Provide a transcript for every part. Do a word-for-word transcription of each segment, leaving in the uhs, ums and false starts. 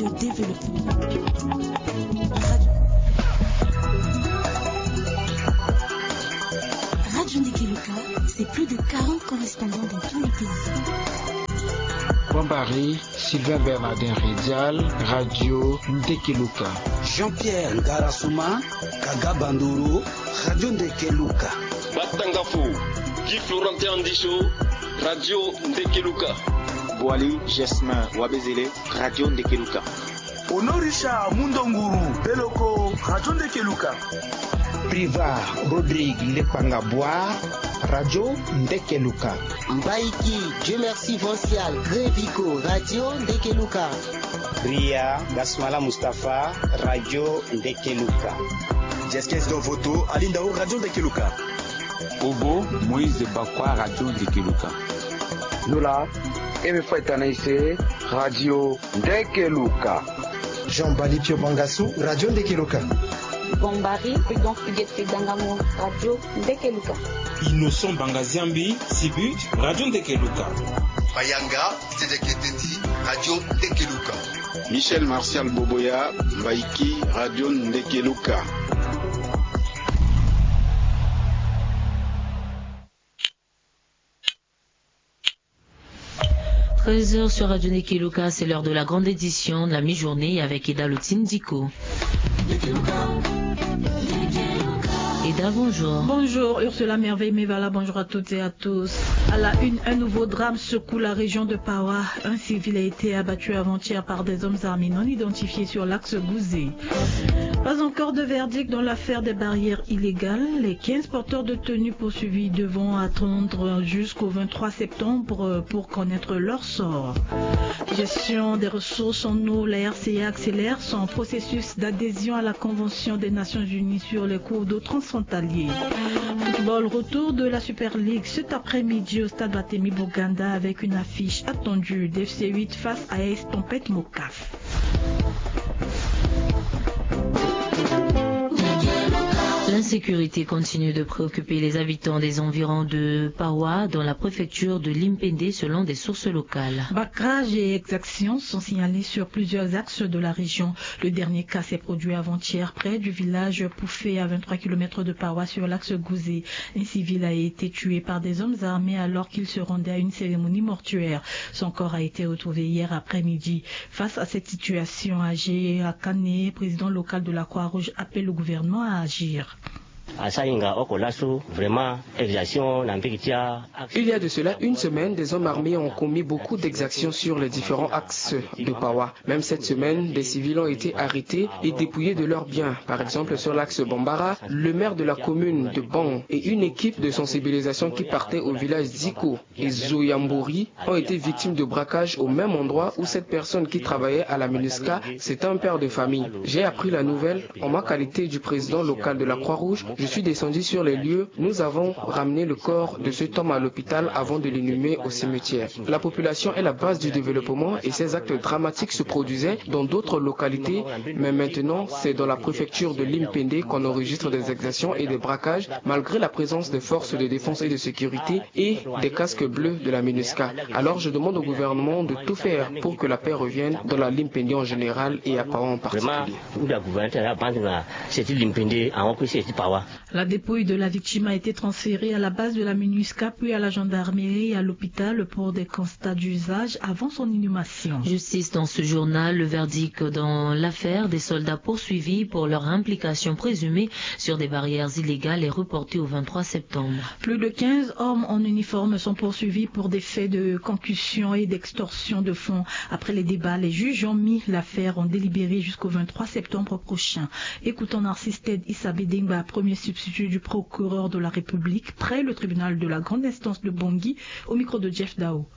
Le développement. Radio, Radio Ndekeluka, c'est plus de quarante correspondants dans tous les pays. Bombari, Sylvain Bernardin Redial, Radio Ndekeluka. Jean-Pierre Ngarasuma, Kaga Bandoro, Radio Ndekeluka. Batangafo, Guy Florentin Andicho, Radio Ndekeluka. Boali Jasmin Wabezele, Radio Ndekeluka. Honorisha Mundonguru Beloko, Radio Ndekeluka. Priva Rodrigue Lepanga Boa, Radio Ndekeluka. Mbaiki Dieu Merci Vancial Grevico, Radio Ndekeluka. Ria Gasmala Mustapha, Radio Ndekeluka. Jeskes Dovoto Alindao, Radio Ndekeluka. Obo Moïse Bakwa, Radio Ndekeluka. Lola Eme Faitanaise, Radio Ndekeluka. Jean Bali Pio Bangasu, Radio Ndekeluka. Bombari Prudence Huguette Dangamo, Radio Ndekeluka. Innocent Bangaziambi Sibu, Radio Ndekeluka. Mayanga Tedeketeti, Radio Ndekeluka. Michel Martial Boboya, Mbaiki, Radio Ndekeluka. Treize heures sur Radio Ndekeluka, c'est l'heure de la grande édition de la mi-journée avec Eda Lotindiko. Eda, bonjour. Bonjour Ursula Merveille Mevala, bonjour à toutes et à tous. À la une, un nouveau drame secoue la région de Pawa. Un civil a été abattu avant-hier par des hommes armés non identifiés sur l'axe Gouzé. Pas encore de verdict dans l'affaire des barrières illégales. Les quinze porteurs de tenue poursuivis devront attendre jusqu'au vingt-trois septembre pour connaître leur sort. Gestion des ressources en eau, la R C A accélère son processus d'adhésion à la Convention des Nations Unies sur les cours d'eau transfrontaliers. Football, retour de la Super League cet après-midi au stade Barthélemy Boganda avec une affiche attendue d'F C huit face à A S Tempête Mokaf. L'insécurité continue de préoccuper les habitants des environs de Pawa, dans la préfecture de Limpende, selon des sources locales. Braquages et exactions sont signalés sur plusieurs axes de la région. Le dernier cas s'est produit avant-hier près du village Poufé, à vingt-trois kilomètres de Pawa, sur l'axe Gouzé. Un civil a été tué par des hommes armés alors qu'il se rendait à une cérémonie mortuaire. Son corps a été retrouvé hier après-midi. Face à cette situation, Agé Akane, président local de la Croix-Rouge, appelle le gouvernement à agir. Asara hinga oko laso, vraiment, exaction na mbage ti a. Il y a de cela une semaine, des hommes armés ont commis beaucoup d'exactions sur les différents axes de Pawa. Même cette semaine, des civils ont été arrêtés et dépouillés de leurs biens. Par exemple, sur l'axe Bambara, le maire de la commune de Ban et une équipe de sensibilisation qui partait au village Ziko et Zoyambori ont été victimes de braquages au même endroit où cette personne qui travaillait à la MINUSCA, c'est un père de famille. J'ai appris la nouvelle en ma qualité du président local de la Croix-Rouge. Je suis descendu sur les lieux. Nous avons ramené le corps de cet homme à l'hôpital avant de l'inhumer au cimetière. La population est la base du développement et ces actes dramatiques se produisaient dans d'autres localités, mais maintenant, c'est dans la préfecture de Limpende qu'on enregistre des exactions et des braquages, malgré la présence des forces de défense et de sécurité et des casques bleus de la MINUSCA. Alors je demande au gouvernement de tout faire pour que la paix revienne dans la Limpende en général et à Pawa en particulier. La dépouille de la victime a été transférée à la base de la MINUSCA, puis à la gendarmerie et à l'hôpital pour des constats d'usage avant son inhumation. Justice dans ce journal, le verdict dans l'affaire des soldats poursuivis pour leur implication présumée sur des barrières illégales est reporté au vingt-trois septembre. Plus de quinze hommes en uniforme sont poursuivis pour des faits de concussion et d'extorsion de fonds. Après les débats, les juges ont mis l'affaire en délibéré jusqu'au vingt-trois septembre prochain. Écoutons Narcisse Ted Issa Bedengba, premier substitut du procureur de la République près le tribunal de la grande instance de Bangui, au micro de Jeff Dao.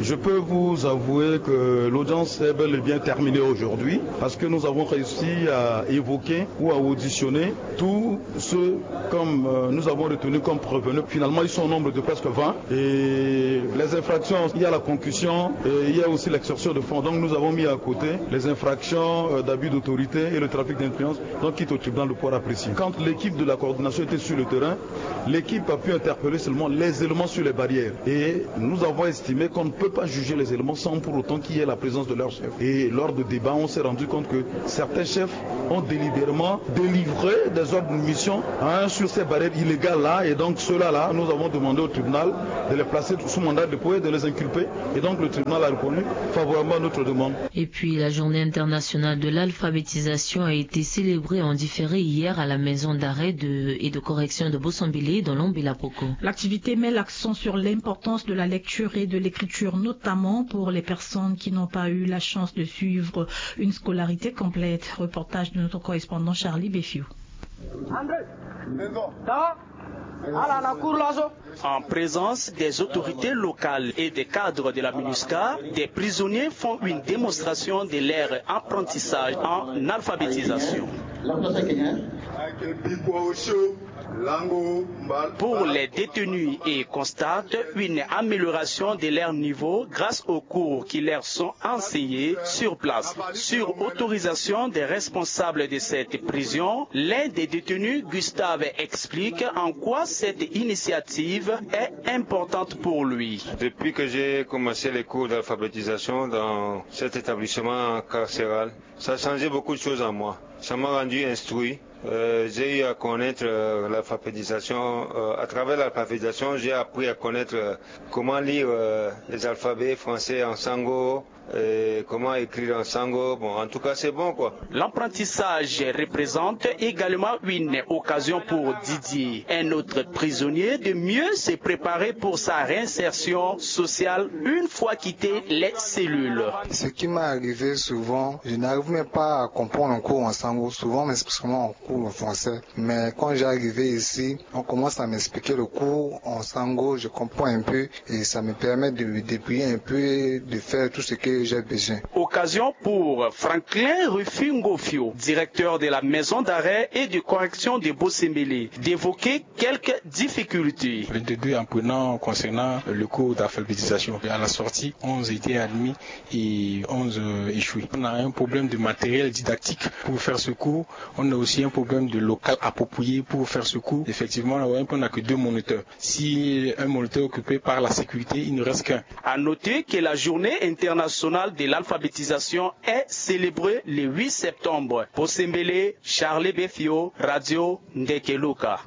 Je peux vous avouer que l'audience est bel et bien terminée aujourd'hui parce que nous avons réussi à évoquer ou à auditionner tous ceux comme, euh, nous avons retenu comme prévenus. Finalement, ils sont au nombre de presque vingt. Et les infractions, il y a la concussion et il y a aussi l'extorsion de fonds. Donc nous avons mis à côté les infractions, euh, d'abus d'autorité et le trafic d'influence, donc qui est au tribunal de pouvoir apprécier. Quand l'équipe de la coordination était sur le terrain, l'équipe a pu interpeller seulement les éléments sur les barrières. Et nous avons estimé, comme On ne peut pas juger les éléments sans pour autant qu'il y ait la présence de leur chef. Et lors de débats, on s'est rendu compte que certains chefs ont délibérément délivré des ordres de mission, hein, sur ces barrières illégales-là. Et donc, ceux-là, là, nous avons demandé au tribunal de les placer sous mandat de dépôt et de les inculper. Et donc, le tribunal a répondu favorablement à notre demande. Et puis, la journée internationale de l'alphabétisation a été célébrée en différé hier à la maison d'arrêt de, et de correction de Bosombele dans l'Ambela Poko. L'activité met l'accent sur l'importance de la lecture et de l'écriture, notamment pour les personnes qui n'ont pas eu la chance de suivre une scolarité complète. Reportage de notre correspondant Charlie Beffiou. En présence des autorités locales et des cadres de la MINUSCA, des prisonniers font une démonstration de leur apprentissage en alphabétisation. Pour les détenus, ils constatent une amélioration de leur niveau grâce aux cours qui leur sont enseignés sur place. Sur autorisation des responsables de cette prison, l'un des détenus, Gustave, explique en quoi cette initiative est importante pour lui. Depuis que j'ai commencé les cours d'alphabétisation dans cet établissement carcéral, ça a changé beaucoup de choses en moi. Ça m'a rendu instruit. Euh, j'ai eu à connaître euh, l'alphabétisation. Euh, à travers l'alphabétisation, j'ai appris à connaître euh, comment lire euh, les alphabets français en sango, et comment écrire en sango. Bon, en tout cas, c'est bon, quoi. L'apprentissage représente également une occasion pour Didier, un autre prisonnier, de mieux se préparer pour sa réinsertion sociale une fois quitté les cellules. Ce qui m'est arrivé souvent, je n'arrive même pas à comprendre un cours en sango. Souvent, on m'explique seulement en cours en français. Mais quand j'ai arrivé ici, on commence à m'expliquer le cours en sango, je comprends un peu et ça me permet de me débrouiller un peu, de faire tout ce que j'ai besoin. Occasion pour Franklin Rufingofio, directeur de la maison d'arrêt et de correction de Bosombele, d'évoquer quelques difficultés. Vingt-deux apprenants concernant le cours d'alphabétisation. À la sortie, onze étaient admis et onze échoués. On a un problème de matériel didactique pour faire ce cours. On a aussi un problème de local approprié pour faire ce cours. Effectivement, on n'a que deux moniteurs. Si un moniteur est occupé par la sécurité, il ne reste qu'un. À noter que la journée internationale de l'alphabétisation est célébrée le huit septembre. Bosombele, Charlie Beffiot, Radio Ndekeluka.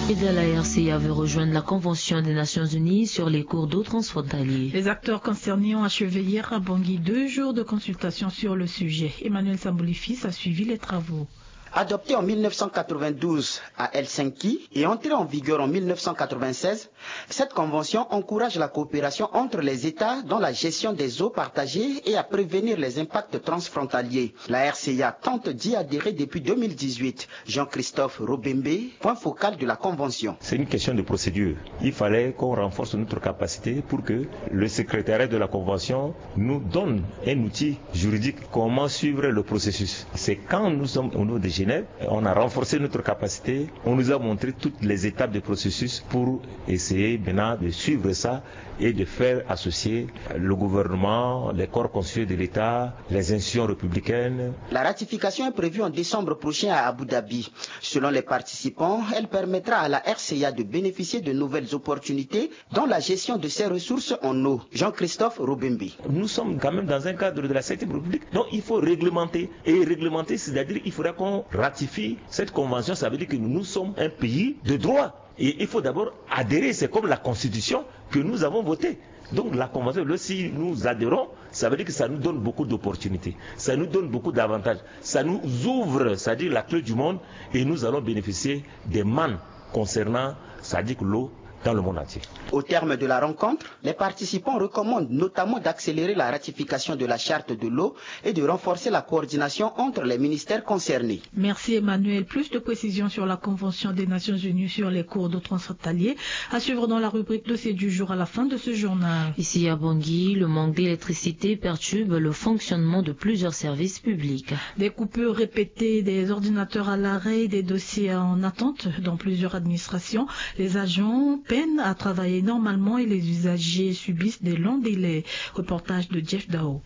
Et de la R C A veut rejoindre la Convention des Nations Unies sur les cours d'eau transfrontaliers. Les acteurs concernés ont achevé hier à Bangui deux jours de consultation sur le sujet. Emmanuel Samboli-Fils a suivi les travaux. Adoptée en mille neuf cent quatre-vingt-douze à Helsinki et entrée en vigueur en mille neuf cent quatre-vingt-seize, cette convention encourage la coopération entre les États dans la gestion des eaux partagées et à prévenir les impacts transfrontaliers. La R C A tente d'y adhérer depuis deux mille dix-huit. Jean-Christophe Robembe, point focal de la convention. C'est une question de procédure. Il fallait qu'on renforce notre capacité pour que le secrétariat de la convention nous donne un outil juridique, comment suivre le processus. C'est quand nous sommes au niveau de Genève, on a renforcé notre capacité, on nous a montré toutes les étapes du processus pour essayer maintenant de suivre ça et de faire associer le gouvernement, les corps constitués de l'État, les institutions républicaines. La ratification est prévue en décembre prochain à Abu Dhabi. Selon les participants, elle permettra à la R C A de bénéficier de nouvelles opportunités dans la gestion de ses ressources en eau. Jean-Christophe Robembe. Nous sommes quand même dans un cadre de la septième République, donc il faut réglementer. Et réglementer, c'est-à-dire qu'il faudra qu'on ratifie cette convention, ça veut dire que nous sommes un pays de droit. Et il faut d'abord adhérer, c'est comme la constitution que nous avons votée. Donc la convention, là, si nous adhérons, ça veut dire que ça nous donne beaucoup d'opportunités, ça nous donne beaucoup d'avantages, ça nous ouvre, c'est-à-dire la clé du monde, et nous allons bénéficier des mannes concernant, c'est-à-dire l'eau dans le monde entier. Au terme de la rencontre, les participants recommandent notamment d'accélérer la ratification de la charte de l'eau et de renforcer la coordination entre les ministères concernés. Merci Emmanuel. Plus de précisions sur la Convention des Nations Unies sur les cours d'eau transfrontaliers à suivre dans la rubrique dossier du jour à la fin de ce journal. Ici à Bangui, le manque d'électricité perturbe le fonctionnement de plusieurs services publics. Des coupures répétées, des ordinateurs à l'arrêt, des dossiers en attente dans plusieurs administrations. Les agents peinent à travailler normalement et les usagers subissent des longs délais. Reportage de Jeff Dao.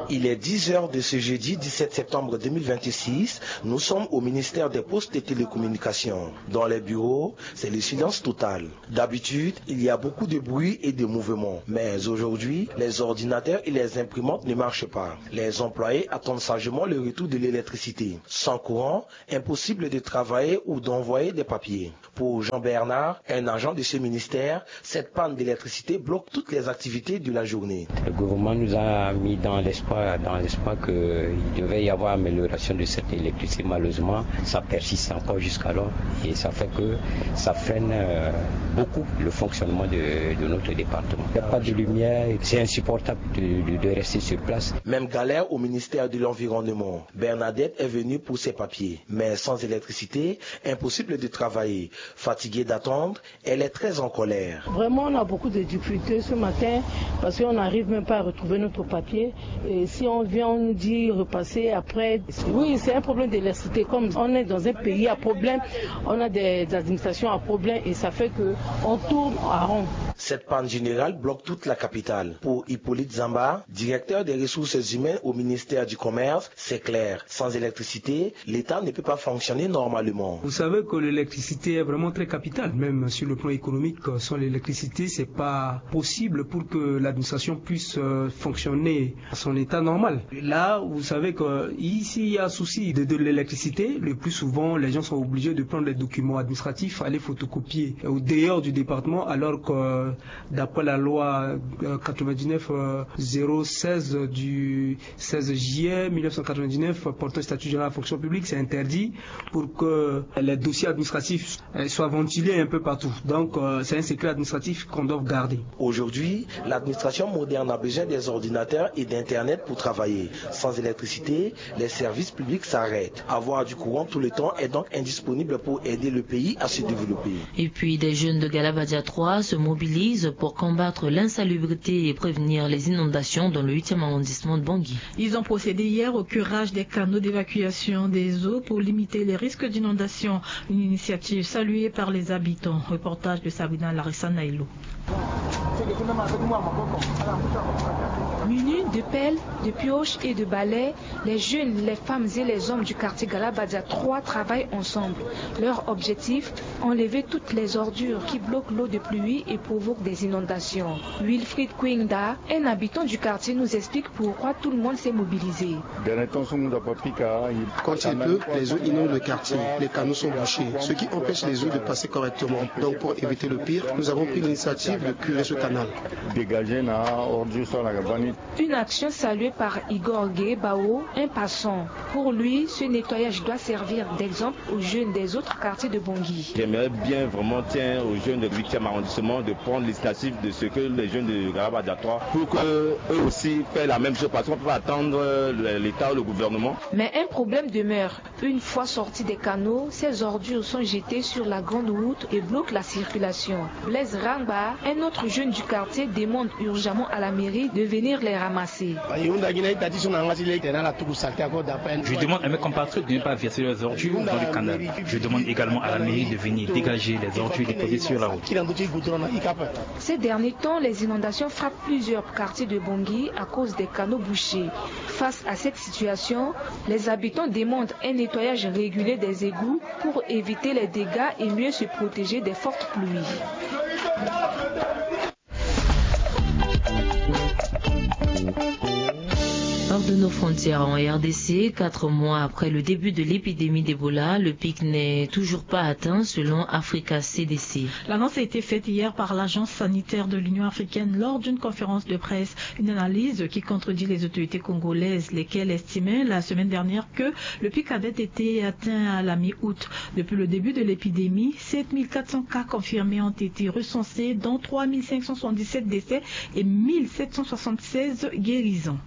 Il est dix heures de ce jeudi dix-sept septembre deux mille vingt-six. Nous sommes au ministère des Postes et Télécommunications. Dans les bureaux, c'est le silence total. D'habitude, il y a beaucoup de bruit et de mouvement. Mais aujourd'hui, les ordinateurs et les imprimantes ne marchent pas. Les employés attendent sagement le retour de l'électricité. Sans courant, impossible de travailler ou d'envoyer des papiers. Pour Jean-Bernard, un agent de ce ministère, cette panne d'électricité bloque toutes les activités de la journée. Le gouvernement nous a mis dans l'espoir, dans l'espoir qu'il devait y avoir amélioration de cette électricité. Malheureusement, ça persiste encore jusqu'alors et ça fait que ça freine, euh, beaucoup le fonctionnement de, de notre département. Il n'y a pas de lumière, c'est insupportable de, de, de rester sur place. Même galère au ministère de l'Environnement. Bernadette est venue pour ses papiers, mais sans électricité, impossible de travailler. Fatiguée d'attendre, elle est très en colère. Vraiment, on a beaucoup de difficultés ce matin parce qu'on n'arrive même pas à retrouver notre papier. Et si on vient, on nous dit repasser après. Oui, c'est un problème d'électricité. Comme on est dans un pays à problème, on a des administrations à problème et ça fait que on tourne en rond. Cette panne générale bloque toute la capitale. Pour Hippolyte Zamba, directeur des ressources humaines au ministère du Commerce, c'est clair. Sans électricité, l'État ne peut pas fonctionner normalement. Vous savez que l'électricité est vraiment très capitale, même sur le plan économique. Sans l'électricité, c'est pas possible pour que l'administration puisse, euh, fonctionner à son état normal. Là, vous savez que ici, il y a souci de, de l'électricité. Le plus souvent, les gens sont obligés de prendre les documents administratifs, aller photocopier au dehors du département, alors que, euh, d'après la loi, euh, quatre-vingt-dix-neuf, euh, zéro seize du seize juillet mille neuf cent quatre-vingt-dix-neuf portant statut général de la fonction publique, c'est interdit pour que les dossiers administratifs, euh, soient ventilés un peu partout. Donc, euh, c'est un secret administratif qu'on doit garder. Aujourd'hui, l'administration moderne a besoin des ordinateurs et d'Internet pour travailler. Sans électricité, les services publics s'arrêtent. Avoir du courant tout le temps est donc indisponible pour aider le pays à se développer. Et puis, des jeunes de Galabadia trois se mobilisent pour combattre l'insalubrité et prévenir les inondations dans le huitième arrondissement de Bangui. Ils ont procédé hier au curage des canaux d'évacuation des eaux pour limiter les risques d'inondation. Une initiative saluée par les habitants. Reportage de Sabrina Larissa Nailo. Munis de pelles, de pioches et de balais, les jeunes, les femmes et les hommes du quartier Galabadia trois travaillent ensemble. Leur objectif, enlever toutes les ordures qui bloquent l'eau de pluie et provoquent des inondations. Wilfried Kwingda, un habitant du quartier, nous explique pourquoi tout le monde s'est mobilisé. Quand il pleut, les eaux inondent le quartier. Les canaux sont bouchés, ce qui empêche les eaux de passer correctement. Donc, pour éviter le pire, nous avons pris l'initiative de curer ce canal. Une action saluée par Igor Gay Bao, un passant. Pour lui, ce nettoyage doit servir d'exemple aux jeunes des autres quartiers de Bangui. J'aimerais bien vraiment, tiens, aux jeunes du huitième arrondissement de prendre l'initiative de ce que les jeunes de Galabadia trois, pour que eux aussi fassent la même chose, parce qu'on peut pas attendre, euh, le, l'État ou le gouvernement. Mais un problème demeure. Une fois sortis des canaux, ces ordures sont jetées sur la grande route et bloquent la circulation. Blaise Rangba, un autre jeune du quartier, demande urgemment à la mairie de venir les ramasser. Je demande à mes compatriotes de ne pas verser leurs ordures dans le canal. Je demande également à la mairie de venir dégager les ordures déposées sur la route. Ces derniers temps, les inondations frappent plusieurs quartiers de Bangui à cause des canaux bouchés. Face à cette situation, les habitants demandent un nettoyage régulier des égouts pour éviter les dégâts et mieux se protéger des fortes pluies. Hors de nos frontières, en R D C, quatre mois après le début de l'épidémie d'Ebola, le pic n'est toujours pas atteint selon Africa C D C. L'annonce a été faite hier par l'Agence sanitaire de l'Union africaine lors d'une conférence de presse. Une analyse qui contredit les autorités congolaises, lesquelles estimaient la semaine dernière que le pic avait été atteint à la mi-août. Depuis le début de l'épidémie, sept mille quatre cents cas confirmés ont été recensés, dont trois mille cinq cent soixante-dix-sept décès et mille sept cent soixante-seize guérisons.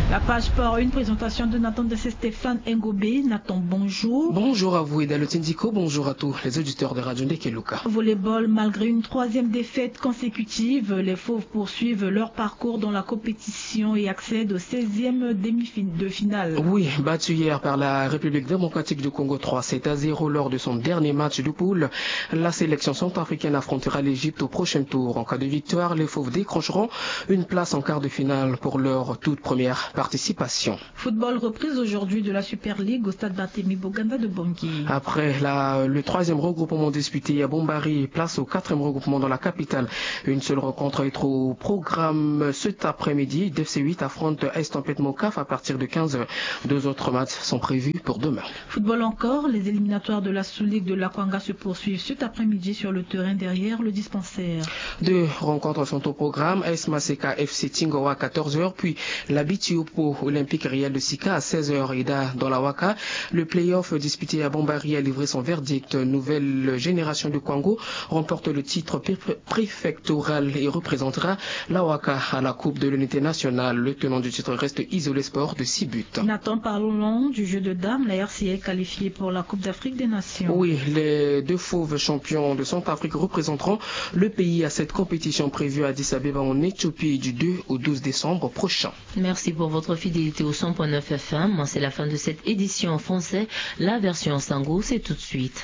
La page sport, une présentation de Nathan de Stéphane Ngobé. Nathan, bonjour. Bonjour à vous, Eda Lotindiko. Bonjour à tous les auditeurs de Radio Ndekeluka. Volleyball, malgré une troisième défaite consécutive, les Fauves poursuivent leur parcours dans la compétition et accèdent au seizième demi-finale. Oui, battu hier par la République démocratique du Congo trois sept à zéro lors de son dernier match de poule, la sélection centrafricaine affrontera l'Égypte au prochain tour. En cas de victoire, les Fauves décrocheront une place en quart de finale pour leur toute première participation. Football, reprise aujourd'hui de la Super League au stade Barthélemy Boganda de Bangui. Après la, le troisième regroupement disputé à Bombari, place au quatrième regroupement dans la capitale. Une seule rencontre est au programme cet après-midi. D F C huit affronte Estampette Mocaf à partir de quinze heures. Deux autres matchs sont prévus pour demain. Football encore, les éliminatoires de la sous-ligue de l'Akwanga se poursuivent cet après-midi sur le terrain derrière le dispensaire. Deux rencontres sont au programme, S Maseka F C Tingoa à quatorze heures, puis la Bitiopo Olympique Real de Sika à seize heures. Et dans la Waka, le play-off disputé à Bombari a livré son verdict. Nouvelle génération de Kwango remporte le titre pré- préfectoral et représentera la Waka à la Coupe de l'Unité nationale. Le tenant du titre reste Isolé Sport de six buts. Nathan, parlons du jeu de dames. La R C A est qualifiée pour la Coupe d'Afrique des Nations. Oui, les deux fauves champions de Centrafrique représenteront le pays à cette compétition prévue à Addis Abeba en Éthiopie du deux au douze décembre prochain. Merci pour votre fidélité au cent point neuf F M. C'est la fin de cette édition en français. La version en sango, c'est tout de suite.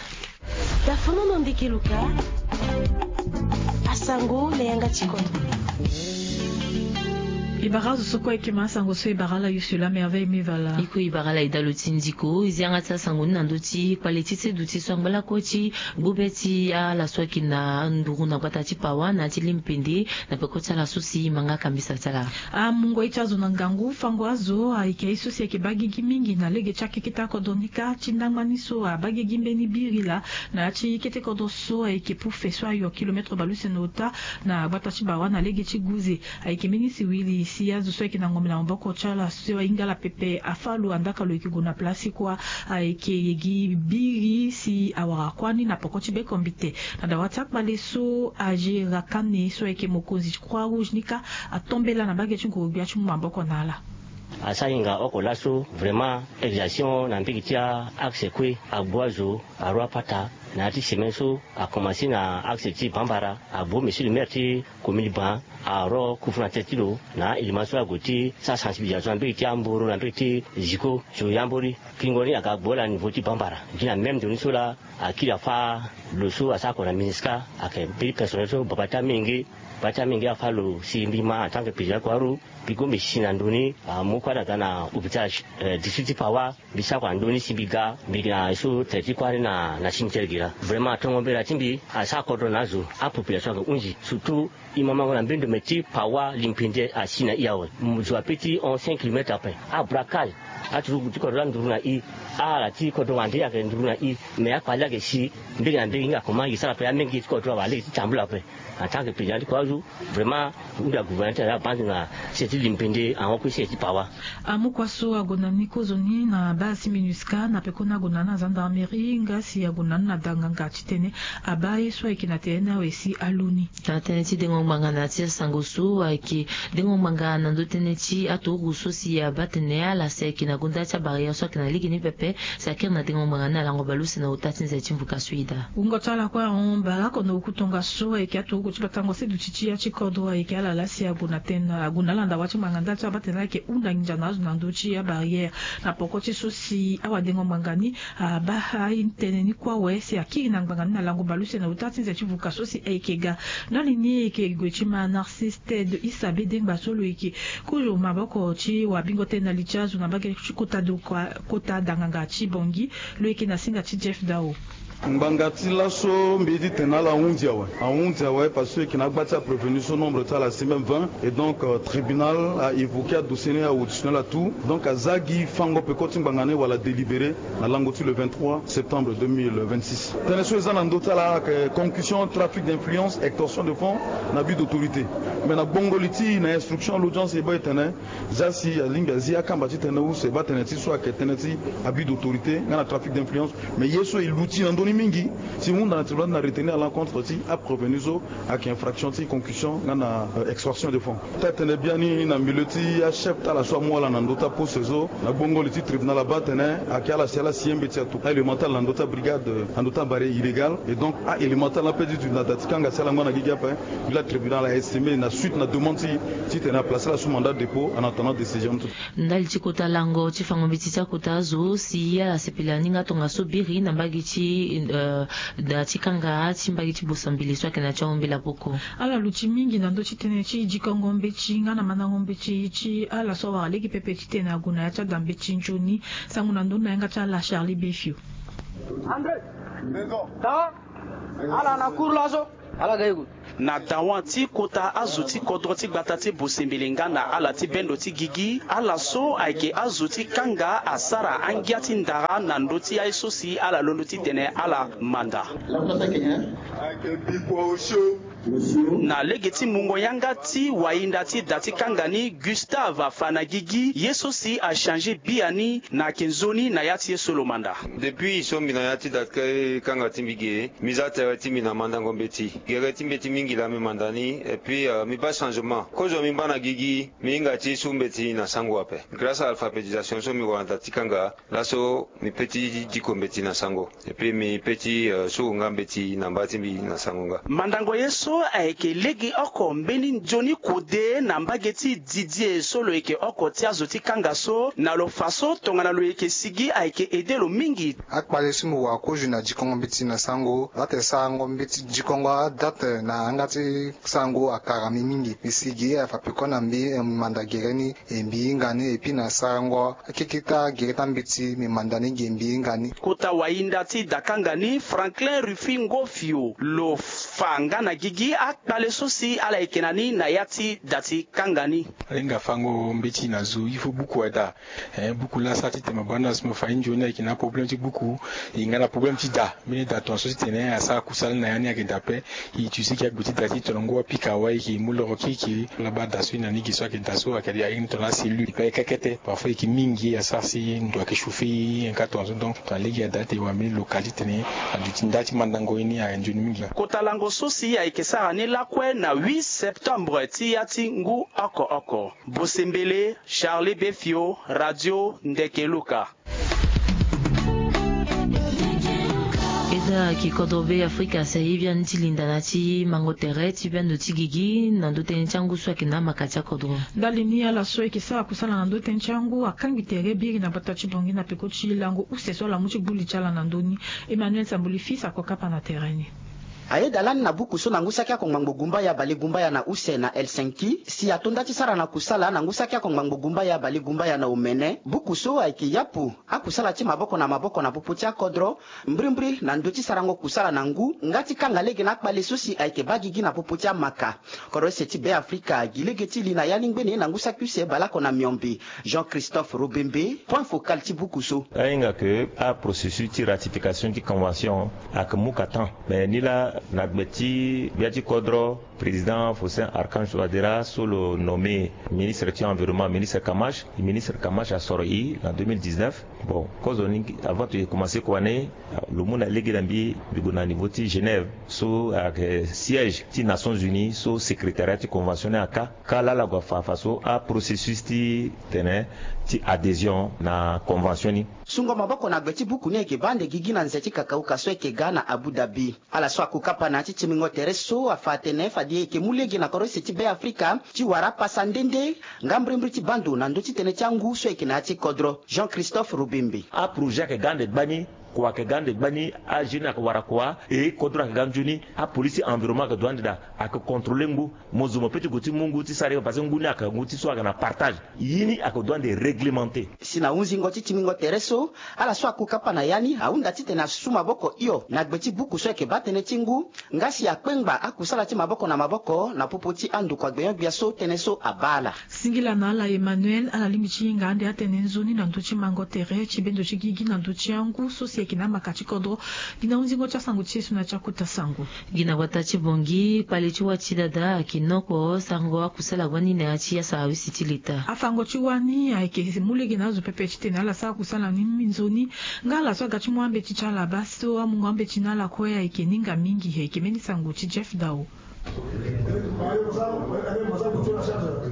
Tafono na ndeke luka. Asango na yanga tikoto. E bara azo so kue e ke ma asango so e bara ala use laa me ave e me va laa. E kue e bara ala e daa lo ti ndiko, e zi yanga ti asango ni na ndö ti kpale ti sedu ti so angba lakue ti gbu be ti ala so ayeke na nduru na gbata ti pawa na ya ti limpende na peko ti ala so si e ma nga kambisa ti ala. Amungo ye ti azo na ngangu, fango azo ayeke ye so si ayeke baa gigi mingi na lege ti akeketa kodro ni kâ ti ndangba ni so abaa gigi mbeni biri laa na ya ti kete kodro so ayeke pufe so ayo kilometre bale use na ota na gbata ti bawa na lege ti guze. Ayeke mbeni siwili si azo so ayeke na ngombe na maboko ti ala so ahinga ala pepe afâ lo, andaa ka lo yeke gue na place kua. Ayeke gi biri si awara kuâ ni na poko ti bekombite. Na dawa ti akpale so, Agera Kane so ayeke mokonzi ti Croix Rouge ni kâ atombela na mbage ti nguru-gbia ti mu maboko na ala. Asara hinga oko laso, vraiment, exercitation na mbage ti a-axe kue agbu azo, aro apata na ya ti semaine so, akomanse na axe ti Bambara, agbu monsieur le maire ti commune Ban, aro kufu na tete ti lo na elema so ague ti sara sensibilisation na mbage ti Amboro, na mbage ti Ziko, so yambori. Kiringo ni aga gbu ala na niveau ti Bambara. Gi na même ndoni so laa, akiri afâ lo so asara oko na MINUSCA, ayeke mbeni personnel so baba ti amenge, baba ti amenge afâ lo si mbi ma en tant que président ti croix rouge, mbi gue mbi si na ndoni, amu kue ala ga na hôpital, eh, district ti Pawa, mbi sara oko na ndoni si mbi ga, mbi ga na ye so tere ti croix ni na, na cimetière ge laa. Vraiment, tongo mbela ti mbi asara kodro na azo, apopulation ayeke hunzi, surtout e ma mango na mbeni ndombe ti Pawa, limpende asi na e awe. Zo ape ti hon cinq kilomètre ape. Abraquage, aturugu ti kodro laa nduru na e. Ala ti kodro wande ayeke nduru na e. Mais akpale ayeke si mbege na mbege, hinga comment e sara ape, amenge ti kodro awe alege ti tambula ape. En tant que président ti croix rouge, vraiment, hunda gouvernement ti ala abaa ndo na se ti limpende ahon kue se ti Pawa. Amu kua so ague na ni kozoni na base MINUSCA na pekoni ague na ni na gendarmerie, nga si ague na ni na danganga titene abaa ye so ayeke na tene ni awe si alo ni. Na tënë ti dengo ngbanga na ya ti asango so ayeke dengo ngbanga na ndö tënë ti aturugu so si abaa tene ala si ayeke na gonda ti abarrière so ayeke na lege ni pepe, si akiri na dengo ngbanga ni na lango bale use na ota ti nze ti mvuka so e daa. Wungo ti ala kue ahon bale oko na oku tongaso ayeke aturugu ti batango seduti ti ya ti kodro ayeke ala laa si ague na tënë, ague na ala na dawa ti ngbanga ndali so abaa tene ala yeke hunda nginza na azo na ndö ti abarrière. Na poko ti so si awadengo ngbanga ni abaa aye tënë ni kue awe si akiri na ngbanga ni na lango bale use na ota ti nze ti vuka so si ayeke ga. Ndali ni e yeke gue ti ma Narcisse Ted Issa Bedengba so lo yeke kozo maboko ti wabingo tënë na li ti azo na mbage ti kota do kua, kota danganga ti Bangui, lo yeke na singa ti Jeff Dao. Ngbanga ti laso mbi ye ti tene na ala ahunzi awe. Ahunzi awe parce que e yeke na agba ti aprévenu so nombre ti ala asi même vingt. Et donc, euh, tribunal a évoqué adossier ni awe ti na ala tout. Donc aza gi fango peko ti ngbanga ni wala délibéré na lango ti le vingt-trois septembre deux mille vingt-six. Tënë so e za na ndö ti ala ayeke concussion, trafic d'influence, extorsion de fonds na abus d'autorité. Mais na gbongo li ti e na instruction, l'audience e baa e tene, za si alingbi azi akamba ti tënë use baa tënë ti so ayeke tënë ti abus d'autorité nga na trafic d'influence. Mais ye so e luti na ndö ni Mingi ti hunda na tribunal ti na retenir à l'encontre ti aprévenu so ayeke infraction ti concussion nga na extorsion de fonds. Ti atene biani na milieu ti achef ti ala so amu ala na ndö ti aposte so na gbongo li ti tribunal abaa atene ayeke ala si ala si ye mbeti ato aélément ti ala na ndö ti abrigade na ndö ti abare illégal. Et donc aélément ti ala ape ti duti na da ti kanga si ala ngba na gigi ape. Mbi la tribunal aestimé na suite na demande ti titene aplace ala sous mandat dépôt en attendant décision. Ndali ti kota lango ti fango mbeti ti akota azo si ala sepela ni nga tongaso biri na mbage ti da ti kanga ti mbage ti bosambele so ayeke na ti ahon mbela poko. Ala luti mingi na ndö ti tënë ti dikongo mbeti nga na mandango mbeti ti ala so awara lege pepe titene ague na ya ti ada mbeti nzoni. Sango na ndö ni na yanga ti ala Charlie Befio. André, ta ala na cour laso. Ala ga ego. Na dawa ti kota azo ti kodro ti gbata ti bosembele nga na ala ti bendo ti gigi ala so ayeke azo ti kanga asara angia ti ndara na ndö ti aye so si ala londo titene ala manda. Na lege ti mungo yanga ti wahinda ti da ti kanga ni Gustave afa na gigi ye so si achange biani na ayeke nzoni na ya ti ye so lo manda. Depuis so mbi na ya ti da ti kanga ti mbi ge mbi za tere ti mbi na mandango mbeti. Gere ti mbeti mingi laa mbi manda ni et puis mbi baa changement kozo mbi ngba na gigi. Mbi hinga ti su mbeti na sango ape grâce à alphabétisation so mbi wara na da ti kanga. Laso mbi pe ti diko mbeti na sango. Et puis mbi pe ti suru nga mbeti na mba ti mbi na sango nga. Mandango ye so ayeke lege oko mbeni nzoni kode na mbage ti Didier so lo yeke oko ti azo ti kanga so na lo fa so tongana lo yeke sigi ayeke aidé lo mingi. Akpale so mbi wara kozo na dikongo mbeti na sango date sarango mbeti dikongo adate na yanga ti sango akara mbi mingi. Mbi sigi afa peko na mbi mbi manda gere ni. E mbi hinga ni e puis na sarango akeke ti agere ti ambeti mbi manda ni ge mbi hinga ni. Kota wahinda ti da kanga ni Franklin Rufin Ngofio lo fa nga na gigi akpale so si ala yeke na ni na ya ti da ti kanga ni. Ala hinga fango mbeti na zo il faut buku ada. Buku laa asara titene mo baa na so mo fa ye nzoni ayeke na aproblème ti buku. E nga na problème ti da mbeni da tongaso titene asara kusala ni na ya ni ayeke da ape. E utiliser gi agbe ti da ti tongana ngu apika awe e yeke mu loro kiri kiri. Ala baa da so e na ni gi so ayeke da so ayeke aye ni tongana acellule e pe aye kekete parfois e yeke mingi asara si ndo ayeke chauffer e. Nga tongaso donc tongana lege ada ti e wara mbeni local titene aduti nda ti mandango ye ni ayeke nzoni mingi. Kota lango so si ayeke sara ni lakue na huit septembre ti ya ti ngu oko oko. Bosembele, Charlie Befio, Radio Ndeke Luka. Eda ki kodro be Afrika sa ye biani ti linda na ti mango tere ti bendo ti gigi na ndo tënë ti angu so ayeke na amaka ti akodro. Ndali ni ala so ayeke sara kusala na ndo tënë ti angu akangi tere biri na gbata ti Bangui na peko ti lango use so ala mu ti gbu li ti ala na ndö ni. Emmanuel Sambuli Fils ako kapa na tere ni. Ayeda lani na buku so na ngu saki oko ngbangbo gumbaya bale gumbaya na use na Helsinki si ato nda ti sara na kusala na ngu saki oko ngbangbo gumbaya bale gumbaya na omene. Buku so ayeke yapu akusala ti maboko na maboko na popo ti akodro mbrimbri na ndö ti sarango kusala na ngu nga ti kanga lege na akpale so si ayeke baa gigi na popo ti amaka. Kodro ese ti Beafrika agi lege ti li na ya ni ngbene na ngu saki use baleoko na miombe. Jean Christophe Robembe, point focal ti buku so. Ahinga ke aprocessus ti ratification ti convention ayeke mu ka temps. Mais ni laa na gbe ti gbia ti kodro président Faustin Archange Touadéra so lo nommé ministre ti environnement, ministre Kamash. Ministre Kamash asoro e na deux mille dix-neuf. Bon, kozo ni avant to ye commencer kua ni lo mu na lege na mbi mbi gue na niveau ti Genève so ayeke siège ti Nations Unies so secrétariat ti convention ni aka. Ka laa ala gue afa afa so aprocessus ti tene ti adhésion na convention ni. Sungo maboko na gbe ti buku ni ayeke baa ande gigi na nze ti kakauka so ayeke ga na Abu Dhabi. Ala so akokapa na ya ti timbingo tere so afa atene fade e yeke mu lege na kodro ese ti Beafrika ti wara apasa nde nde nga mbrimbri ti baa ndo na ndö ti tënë ti angu so ayeke na ya ti kodro. Jean Christophe Robembe. Aprojet ayeke ga ande gbani. Kua ayeke ga ande gbani. Ajeune ayeke wara kua. E kodro ayeke ga nzoni. Apolice ti environnement ayeke dua ande daa. Ayeke contrôler ngu. Mo zo mo pe ti gue ti mu ngu ti sara ye parce que ngu ni ayeke ngu ti so ayeke na partage. Ye ni ayeke dua ande réglementé. Si na hunzingo ti timbingo tere so ala so akokapa na ya ni ahunda titene asu maboko hio na gbe ti buku so ayeke baa tënë ti ngu nga si akpengba akusala ti maboko na maboko na popo ti andokua gbenyo-gbia so tënë so abaa ala. Singila na ala Emmanuel, ala lingbi ti hinga ande atene nzoni na ndö ti mango tere ti bendo ti gigi na ndö ti angu so si Yeke na amaka ti kodro. Gi na hunzingo ti asango ti ye so na ya ti akota sango. Gi na gbata ti Bangui, kpale ti wa ti dada ayeke nokpo sango akusala gbani na ya ti asawisi ti leta. Afango ti wa ni ayeke mu lege na azo pepe titene ala sara kusala ni minzoni. Nga ala so aga ti mu ambeti ti ala baa so amungo ambeti na ala kue ayeke ninga mingi. Ayeke mbeni sango ti Jeff Dao.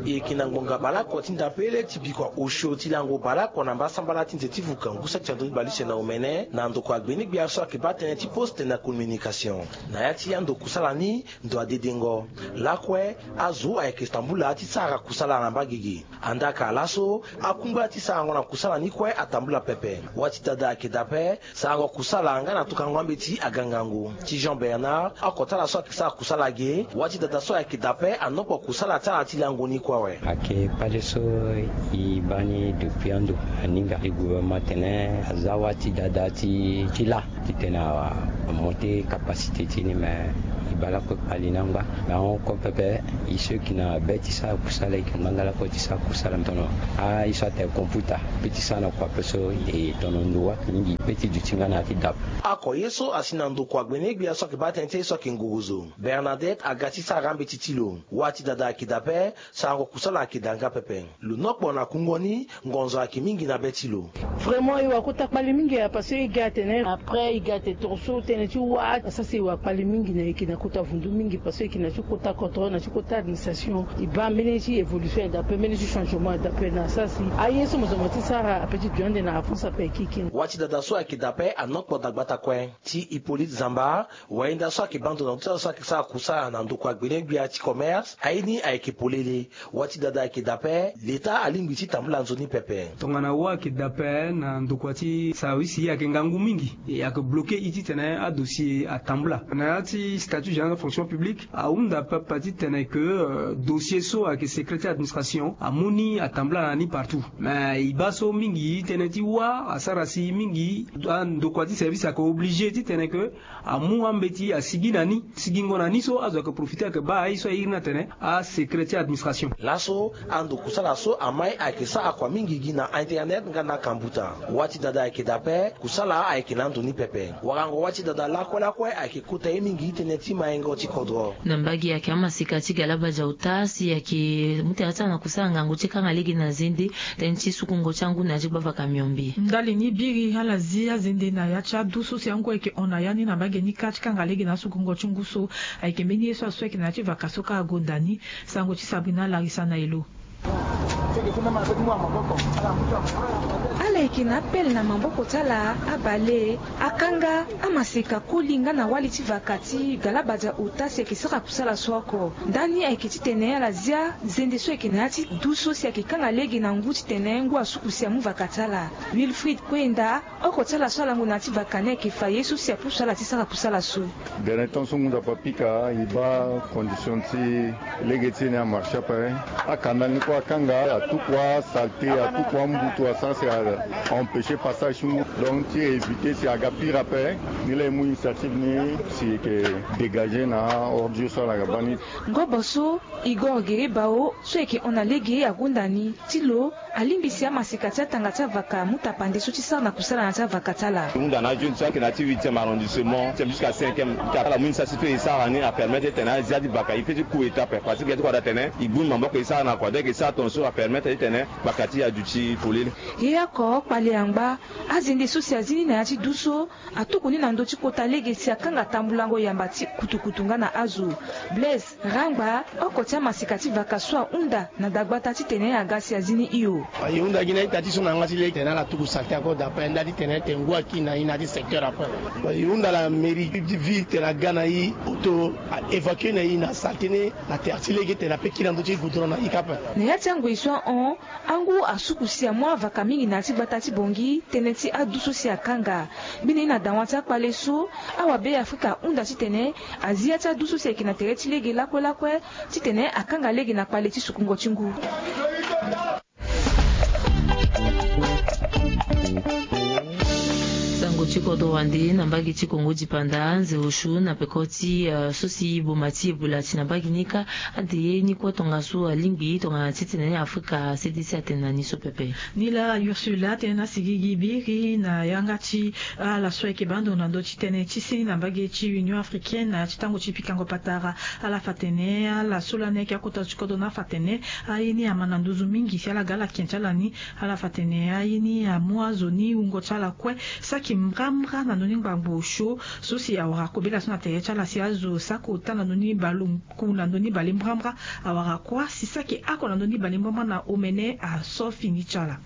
E yeke na ngbonga baleoko ti ndapele ti bikua osio ti lango baleoko na mbasambala ti nze ti vuka ngu saki ti andoni baleuse na omene na ndoko agbene-gbia so ayeke baa tënë ti poste na communication. Na ya ti ando kusala ni, ndo adedengo lakue, azo ayeke tambula ti sara kusala na mbagege. Andaa ka laso, akungba ti sarango na kusala ni kue atambula pepe. Wa ti dada ayeke dape, sarango kusala nga na tokango ambeti aga ngangu. Ti Jean Bernard, oko ti ala so ayeke sara kusala ge, wa ti dada so ayeke dape anokpo kusala ti ala ti lango ni kue awe. Ayeke kpale so e baa ni depuis ando aninga. E gouvernement atene aza wa ti dada ti ti la titene a monter capacité ti ni, mais e baa lakue kpale ni angba. Mais ahon kue pepe, e so e yeke na be ti sara kusala, e yeke ngbanga lakue ti sara kusala. Tono a ye so atene computer, pe ti sara na kua pe so e tono ndo wa mingi, pe ti duti nga na ya ti dape. Oko ye so asi na ndoko agbene-gbia so ayeke baa tënë ti ye so ayeke ngogozo, Bernadette aga ti sara ambeti ti lo. Wa ti dada ayeke dape, sarango kusala ayeke daa nga pepe. Lo nokpo na kungo ni, ngonzo ayeke mingi na be ti lo. Vraiment e wara kota kpale mingi ya, parce que e ga atene après e ga atene toroso tënë ti wa asara si e wara kpale mingi na e yeke na kota vundu mingi, parce que e yeke na ti kota kodro, na ti kota administration. E baa mbeni ti évolution ayeke dape, mbeni ti changement ayeke dape, na asara si aye so mo zo mo ti sara ape ti duti ande na avance ape ayeke kiri. Wa ti dada so ayeke dape anokpo dagbata kue. Ti Hippolyte Zamba, wayenda so ayeke baa ndo na ngu ti azo so ayeke sara kusala na ndoko agbene-gbia ti commerce, aye ni ayeke polele. Wa ti dada ayeke dape, leta alingbi ti tambula nzoni pepe. Tongana wa ayeke dape na ndokua ti sawisi ayeke ngangu mingi. E ayeke bloqué e titene adossier atambula. Na ya ti statut général de fonction publique ahunda pepe titene ke, euh, dossier so ayeke secret ti administration amu ni atambula na ni partout. Mais e baa so mingi tënë ti wa asara si mingi andokua ti service ayeke obligé titene ke amu ambeti asigi na ni. Sigingo na ni so azo ayeke profité ayeke baa aye so airi ni atene asecret ti administration. Laso ando kusala so amai ayeke sara kua mingi gi na internet nga na kambuta. Wa ti dada ayeke dape, kusala ayeke na ando ni pepe. Warango wa ti dada lakue lakue ayeke kota ye mingi tënë ti maingo ti kodro. Na mbage ayeke amaseka ti Galabadia Ota si ayeke mu tena ti ala na kusala ngangu ti kanga lege na zende, tënë ti sukungo ti angu na ya ti gbavaka miombe. Ndali ni biri ala zi azende na ya ti adu so si angu ayeke hon na ya ni na mbage ni kâ ti kanga lege na asukungo ti ngu so. Ayeke mbeni ye so asu ayeke na ya ti vaka so kâ agonda ni. Sango ti Sabrina Larisa na e lo. Ala yeke na apele na maboko ti ala abale akanga amaseka koli nga na wali ti vaka ti Galabadia Ota si ayeke sara kusala so oko. Ndani ayeke titene ala zia zende so ayeke na ya ti du so si ayeke kanga lege na ngu titene ngu asuku si amu vaka ti ala. Wilfried Kwenda, oko ti ala so alango na ya ti vaka ni ayeke fa ye so si apusu ala ti sara kusala so. Dernier temps so ngu nzapa pika e baa condition ti lege ti e ni amarche ape. Akanda ni kue akanga, atukua saleté, atukua mbutu asara si a empêcher passage ti ngu. Donc ti éviter si aga pire ape, ni laa e mu initiative ni si e yeke dégager na ordure so ala ga baa ni. Ngobo so Igor Guerre Bao so ayeke hon na lege agonda ni ti lo alingbi si amaseka ti atanga ti avaka amu tapande so ti sara na kusala na ya ti avaka ti ala. E hunda na ajeune so ayeke na ya ti huitième arrondissement, huitième jusqu'à cinquième. Ala mu initiative so e sara ni apermettre titene azia ti baka e pe ti ku étape parce que e ti kua da tene e gbu ni maboko e sara na kua donc e sara tongaso apermettre titene baka ti e aduti polele. Ye oko kpale angba azende so si azi ni na ya ti du so atuku ni na ndö ti kota lege si akanga tambulango yamba ti kutukutu nga na azo. Blaise Rangba, oko ti amaseka ti vaka so ahunda na dagbata titene aga si azi ni hio. E hunda gi na ita ti so na yanga ti lege titene ala tuku saleté encore d'après ndali titene tene ngu aki na e na ya ti secteur après. E hunda la mairie ti ville titene aga na e auto a évacuer na e na saleté ni na terre ti lege titene ape kiri na ndö ti goudron na e kâ ape. Na ya ti angoi so ahon, angu asuku si amu avaka mingi na ya ti gbata ti Bangui tënë ti adu so si akanga. Mbeni na dawa ti akpale so awabe Afrika ahunda titene azi ya ti adu so si ayeke na tere ti lege lakue lakue titene akanga lege na kpale ti sukungo ti ngu. Sango ti Kodro wande na mbage ti Kongo dipanda nze osio na peko ti, eh, so si boma ti Ebola ti na mbage ni kâ ade ye ni kue tongaso alingbi tongana titene ni Afrika C D C atene na ni so pepe. Ni laa Ursula atene na sigigi biri na yanga ti ala so ayeke baa ndo na ndö ti tënë ti seni na mbage ti Union Africaine na ya ti tango ti pikango patara. Ala fa tene ala so lani ayeke akota ti kodro ni afa tene aye ni ama na nduzu mingi si ala ga ala ken ti ala ni. Ala fa tene aye ni amu azo ni wungo ti ala kue. Saki mbrambra na ndö ni ngbangbo osio so si awara kobela so na tere ti ala si azo saki ota na ndö ni baleku na ndö ni balembrambra. Awara kuâ si saki ako na ndö ni balembrambra na omene aso fini ti ala.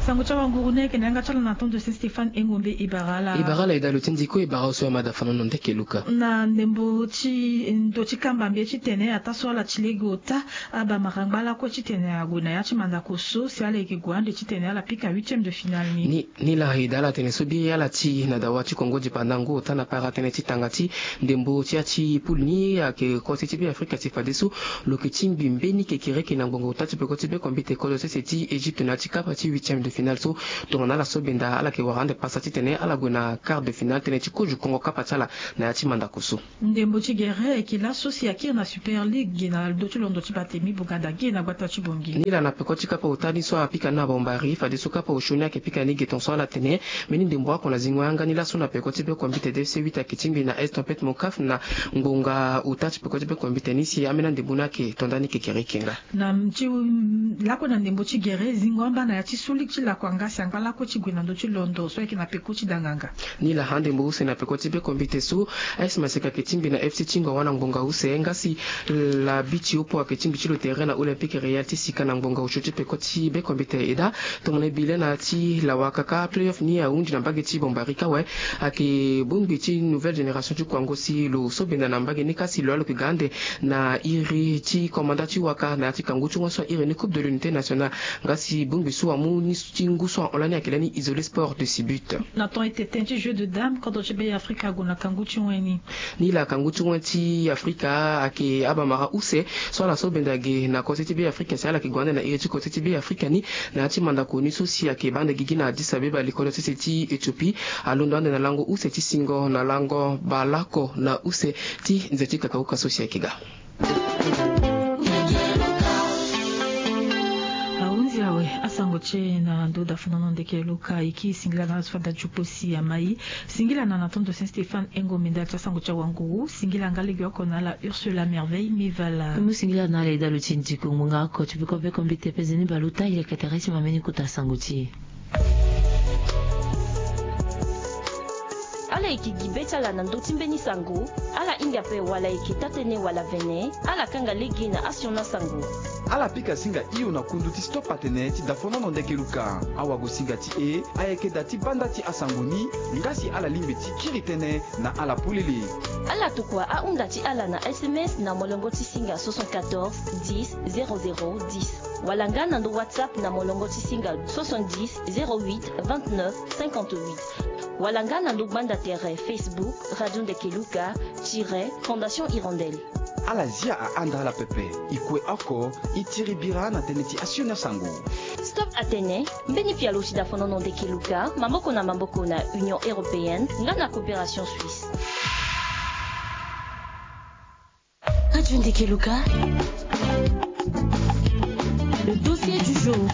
Sango ti awanguru ni ayeke na yanga ti ala na tondo Saint Stéphane Engombe. E bara ala. E bara ala e daa lo ti ndiko e bara oso ya mada fanono ndeke luka. Na ndembo ti ndo ti kamba mbi ye titene ataa so ala ti lege ota abamara ngba lakue titene ague na ya ti mandako so si ala yeke gue ande titene ala pika huitième de finale ni. Ni, ni laa e daa ala tene so biri ala ti na dawa ti Kongo dipanda ngu ota na para tënë ti tanga ti ndembo ti ya ti poule ni ayeke kose ti Be Afrika ti fadeso lo yeke tingbi mbeni kekereke na ngbonga ota ti peko ti be kombite kodro sese ti Egypte na ya ti kapa ti huitième de finale so tongana ala so benda ala yeke wara ande pasa titene ala gue na quart de finale tënë ti kozo kongo kapa ti ala na ya ti mandako so. Ndembo ti gere ayeke laso si akiri na Super League na ndö ti londo ti Batemi Buganda gi na gbata ti Bongi. Ni laa na peko ti kapa ota ni so apika na Bambari fadeso kapa osio ni ayeke pika ni ge tongaso ala tene mbeni ndembo oko na zingo yanga ni laso na peko ti be kombite D F C huit ayeke tingbi na Estampette Mocaf na ngbonga ota ti peko ti be kombite ni si ambeni andembo ni ayeke to nda ni kekereke nga. Na ti lakue na ndembo ti gere zingo amba na ya ti so ligue ti lakua nga si angba lakue ti gue na ndö ti londo so ayeke na peko ti danganga. Ni laa andembo use na peko ti be kombite so A S Maseka ayeke tingbi na F C Tingwa wana ngbonga use nga si la bi ti opo ayeke tingbi ti lo tere na Olympique Real ti sika na ngbonga osio ti peko ti be kombite e daa. Tongana e bi le na ya ti lawa kaka playoff ni ahundi na mbage ti Bambari kâ awe. Ayeke bongbi ti nouvelle génération ti kuango si lo so benda na mbage ni kâ si lo yeke ga ande na iri ti komanda ti waka na ya ti kangu ti wen so ahiri ni Coupe de l'Unité Nationale. Nga si bongbi so amu ni ti ngu so ahon lani ayeke lani Isolé Sport de Sibut. Na temps ete tënë ti jeu de dame kodro ti Be Afrika ague na kangu ti wen ni. Ni laa kangu ti wen ti Afrika ayeke abamara use so ala so benda ge na kose ti Be Afrika si ala yeke gue ande na iri ti kose ti Be Afrika ni na ya ti mandako ni so si ayeke baa ande gigi na Addis Abeba likolo sese ti Éthiopie. Alondo ande na lango use ti singo na lango baleoko na use ti nze ti kakauka so si ayeke ga. Ahunzi awe asango ti e na ndo dafonono ndeke luka e kiri singila na ala so fade ajupo si amai. Singila na na tondo Saint Stéphane Engo Menda ti asango ti awanguru. Singila nga legeoko na ala Ursula Merveille Mivala. Mu singila na ala e daa lo ti ndiko ngbonga oko ti peko be kombite peze ni baleota e yeke tere ti ma mbeni kota sango ti e. Ala yeke gi be ti ala na ndö ti mbeni sango. Ala hinga ape wala e yeke taa-tënë wala vene, ala kanga lege na asioni asango. Ala pika singa hio na kundu ti Stop Atene ti dafonono ndeke luka. Awagosinga ti e ayeke da ti banda ti asango ni. Nga si ala lingbi ti kiri tënë na ala polele, ala tokua ahunda ti ala na S M S na molongo ti singa soixante-quatorze dix zéro zéro dix. Wala nga na ndo WhatsApp na molongo ti singa soixante-dix zéro huit vingt-neuf cinquante-huit. Wala nga na ndo gbanda tere Facebook Radio Ndeke Luka tiret Fondation Hirondelle. Ala zia ahanda ala pepe. E kue oko e tiri bira na tënë ti asioni asango. Stop Atene, mbeni pialo ti dafonono ndeke luka, maboko na maboko na Union Européenne nga na Coopération Suisse. Radio Ndeke Luka. Le dossier du jour.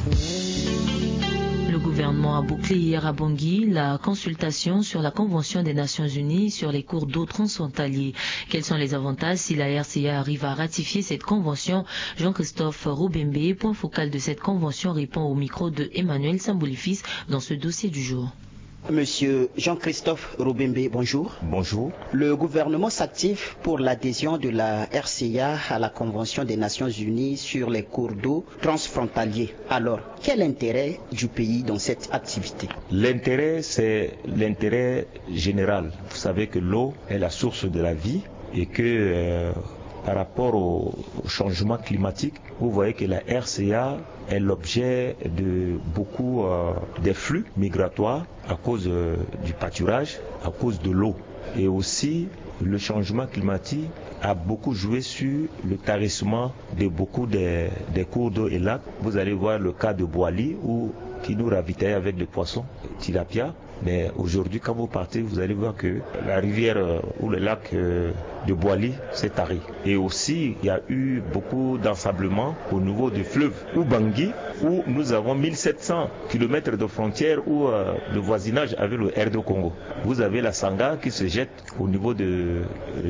Le gouvernement a bouclé hier à Bangui la consultation sur la Convention des Nations Unies sur les cours d'eau transfrontaliers. Quels sont les avantages si la R C A arrive à ratifier cette convention ? Jean-Christophe Roubembe, point focal de cette convention, répond au micro de Emmanuel Samboulifis dans ce dossier du jour. Monsieur Jean-Christophe Roubembe, bonjour. Bonjour. Le gouvernement s'active pour l'adhésion de la R C A à la Convention des Nations Unies sur les cours d'eau transfrontaliers. Alors, quel intérêt du pays dans cette activité ? L'intérêt, c'est l'intérêt général. Vous savez que l'eau est la source de la vie et que, euh, par rapport au, au changement climatique, vous voyez que la R C A est l'objet de beaucoup, euh, des flux migratoires à cause, euh, du pâturage, à cause de l'eau. Et aussi, Le changement climatique a beaucoup joué sur le tarissement de beaucoup des, des cours d'eau et lacs. Vous allez voir le cas de Boali, où, qui nous ravitaille avec des poissons, tilapia. Mais aujourd'hui, quand vous partez, vous allez voir que la rivière, euh, ou le lac, euh, de Boali s'est tari. Et aussi, il y a eu beaucoup d'ensablement au niveau du fleuve Ubangi, où nous avons mille sept cents kilomètres de frontières ou, euh, de voisinage avec le R deux Congo. Vous avez la Sangha qui se jette au niveau de,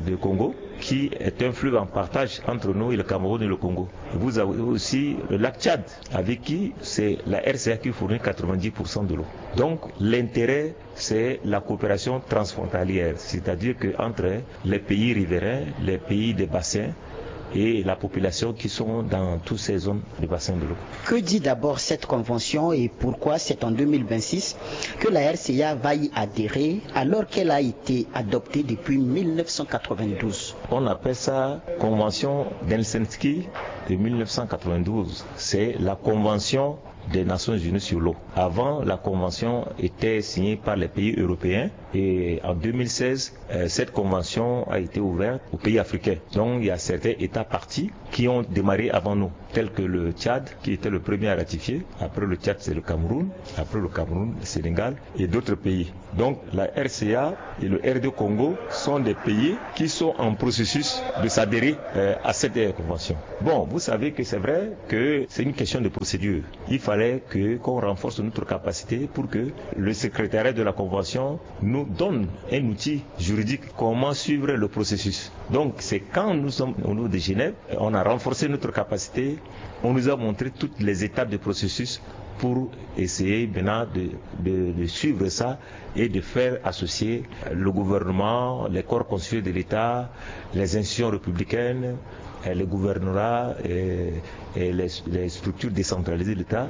de Congo, qui est un fleuve en partage entre nous et le Cameroun et le Congo. Vous avez aussi le lac Tchad, avec qui c'est la R C A qui fournit quatre-vingt-dix pour cent de l'eau. Donc, l'intérêt, c'est la coopération transfrontalière, c'est-à-dire que entre les pays riverains, les pays des bassins et la population qui sont dans toutes ces zones de bassin de l'eau. Que dit d'abord cette convention et pourquoi c'est en deux mille vingt-six que la R C A va y adhérer alors qu'elle a été adoptée depuis mille neuf cent quatre-vingt-douze ? On appelle ça convention d'Helsinki de mille neuf cent quatre-vingt-douze. C'est la convention des Nations Unies sur l'eau. Avant, la convention était signée par les pays européens et en deux mille seize, euh, cette convention a été ouverte aux pays africains. Donc, il y a certains États parties qui ont démarré avant nous, tels que le Tchad, qui était le premier à ratifier. Après le Tchad, c'est le Cameroun. Après le Cameroun, le Sénégal et d'autres pays. Donc, la R C A et le R deux Congo sont des pays qui sont en processus de s'adhérer, euh, à cette, euh, convention. Bon, vous savez que c'est vrai que c'est une question de procédure. Il fallait que, qu'on renforce notre capacité pour que le secrétariat de la convention nous donne un outil juridique, comment suivre le processus. Donc, c'est quand nous sommes au niveau de Genève, on a renforcé notre capacité, on nous a montré toutes les étapes du processus pour essayer maintenant de, de, de suivre ça et de faire associer le gouvernement, les corps constitués de l'État, les institutions républicaines, euh, les gouvernorats et, et les, les structures décentralisées de l'État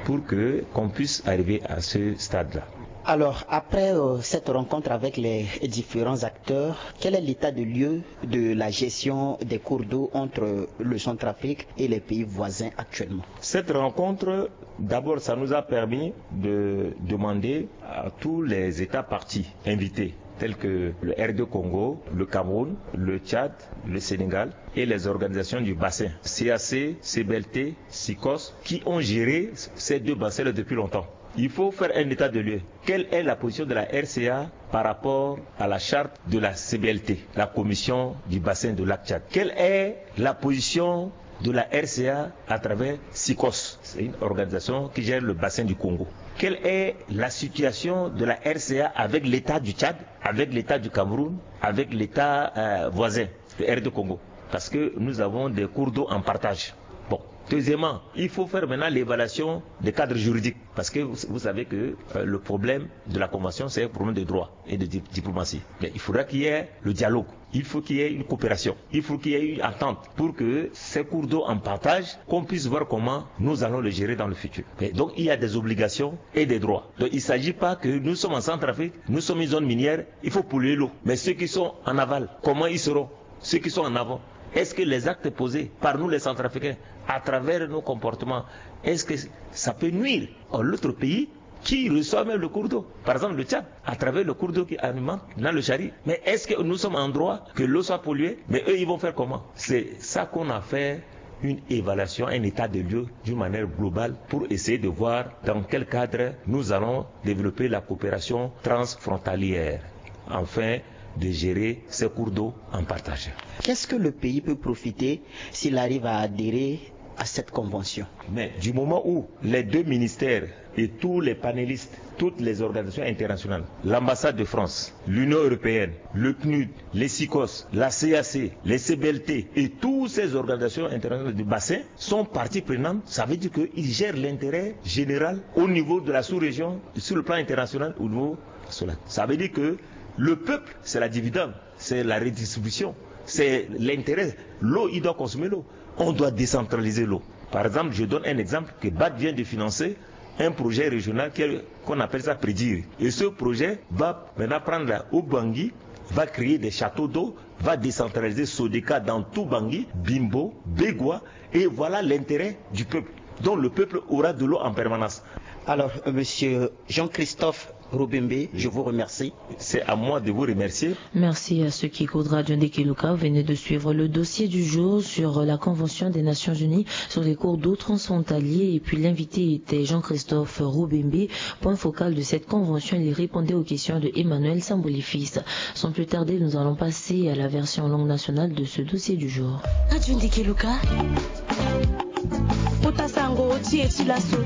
pour que, qu'on puisse arriver à ce stade-là. Alors, après, euh, cette rencontre avec les différents acteurs, quel est l'état de lieu de la gestion des cours d'eau entre le Centrafrique et les pays voisins actuellement ? Cette rencontre, d'abord, ça nous a permis de demander à tous les États parties invités, tels que le R deux Congo, le Cameroun, le Tchad, le Sénégal et les organisations du bassin, C A C, C B L T, SICOS, qui ont géré ces deux bassins depuis longtemps. Il faut faire un état de lieu. Quelle est la position de la R C A par rapport à la charte de la C B L T, la commission du bassin de lac Tchad ? Quelle est la position de la R C A à travers SICOS ? C'est une organisation qui gère le bassin du Congo. Quelle est la situation de la R C A avec l'État du Tchad, avec l'État du Cameroun, avec l'État, euh, voisin, le R deux Congo ? Parce que nous avons des cours d'eau en partage. Bon. Deuxièmement, il faut faire maintenant l'évaluation des cadres juridiques. Parce que vous, vous savez que, euh, le problème de la convention, c'est un problème de droit et de di-, diplomatie. Mais il faudra qu'il y ait le dialogue. Il faut qu'il y ait une coopération. Il faut qu'il y ait une entente pour que ces cours d'eau en partage, qu'on puisse voir comment nous allons le gérer dans le futur. Et donc, il y a des obligations et des droits. Donc, il ne s'agit pas que nous sommes en Centrafrique, nous sommes une zone minière, il faut polluer l'eau. Mais ceux qui sont en aval, comment ils seront ? Ceux qui sont en avant, est-ce que les actes posés par nous les Centrafricains, à travers nos comportements, est-ce que ça peut nuire à l'autre pays qui reçoit même le cours d'eau ? Par exemple, le Tchad, à travers le cours d'eau qui alimente dans le Chari. Mais est-ce que nous sommes en droit que l'eau soit polluée ? Mais eux, ils vont faire comment ? C'est ça qu'on a fait, une évaluation, un état de lieu d'une manière globale pour essayer de voir dans quel cadre nous allons développer la coopération transfrontalière, afin de gérer ces cours d'eau en partage. Qu'est-ce que le pays peut profiter s'il arrive à adhérer à cette convention ? Mais du moment où les deux ministères et tous les panélistes, toutes les organisations internationales, l'ambassade de France, l'Union européenne, le PNUD, les SICOS, la CAC, les CBLT et toutes ces organisations internationales du bassin sont parties prenantes, ça veut dire qu'ils gèrent l'intérêt général au niveau de la sous-région, sur le plan international, au niveau national. Ça veut dire que le peuple, c'est la dividende, c'est la redistribution, c'est l'intérêt. L'eau, il doit consommer l'eau. On doit décentraliser l'eau. Par exemple, je donne un exemple que BAD vient de financer, un projet régional qui est, qu'on appelle ça Prédire. Et ce projet va maintenant prendre la Ubangi, va créer des châteaux d'eau, va décentraliser Sodeka dans tout Bangui, Bimbo, Begoua, et voilà l'intérêt du peuple. Donc le peuple aura de l'eau en permanence. Alors, euh, monsieur Jean-Christophe Rubembe, je vous remercie. C'est à moi de vous remercier. Merci à ceux qui écoutent Radio Ndekeluka. Vous venez de suivre le dossier du jour sur la Convention des Nations Unies sur les cours d'eau transfrontaliers. Et puis l'invité était Jean-Christophe Rubembe. Point focal de cette convention, il répondait aux questions de Emmanuel Sambolifis. Sans plus tarder, nous allons passer à la version langue nationale de ce dossier du jour. Radio Ndekeluka. Kota sango ti e ti laso.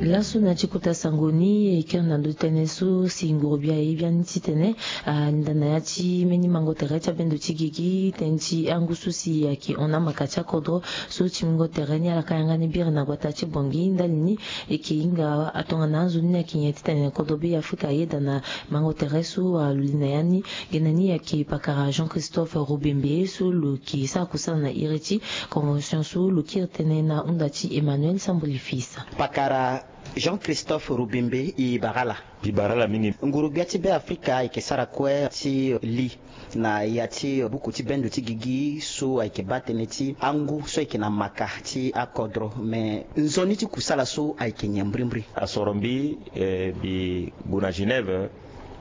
Laso na ti kota sango ni e kiri na ndö ti tënë so si nguru bia e biani titene alinda na ya ti mbeni mango tere ti abendo ti gigi tënë ti angu so si ayeke hon amaka ti akodro so ti mingo tere ni ala ka yanga ni biri na gbata ti Bangui ndali ni. E yeke hinga atongana anzoni ni ayeke nyen titene kodro be Afrika ayeda na mango tere so alulinda ya ni. Gene ni ayeke pakara Jean-Christophe Rubembe so lo yeke sara kusala na iri ti convention so lo kiri tënë na hunda ti Emmanuel Sambolifis. Pakara Jean-Christophe Rubembe, e bara ala. E bara ala mingi. Nguru-gbia ti Be Afrika ayeke sara kue ti li na ya ti buku ti bendo ti gigi so ayeke baa tënë ti angu so ayeke na maka ti akodro. Me nzoni ti kusala so ayeke nyen mbrimbri? Asoro mbi, eh, mbi gue na Genève.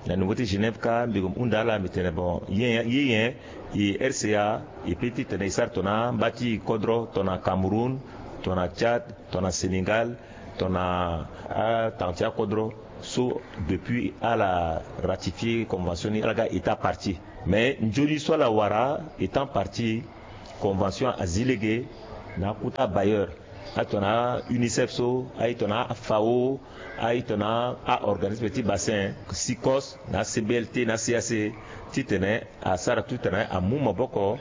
Na niveau ti Genève kâ mbi gue hunda ala mbi tene bon, ye nyen, ye nyen e R C A e peut titene e sara tongana amba ti kodro, tongana Cameroun, tongana Tchad, tongana Sénégal, tongana atanga ti akodro so depuis ala ratifier convention ni ala ga état partie. Mais nzoni so ala wara étant partie, convention azi lege na akota bailleur, aye tongana UNICEF so, aye tongana FAO, aye tongana a organisme ti bassin, SICOS, na CBLT, na CAC, titene asara tout titene amu maboko